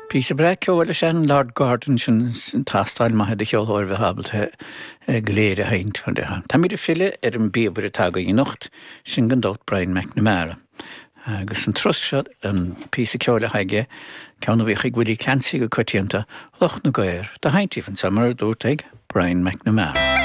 Píosa breá ceoil is ea an Lord Gordon sin, tástáil maith do cheoltóir a bheith ábalta go léir a sheinnt. Táimid ag filleadh ar an bpíobaire atá againn anocht, sin gan dabht Brian McNamara. Agus an turas seo, an píosa ceoil atá aige, ceann a bhíodh ag Willie Clancy go coitianta, Loch na gCaor, dá sheinnt daoibh anseo mar a dúrt ag Brian McNamara.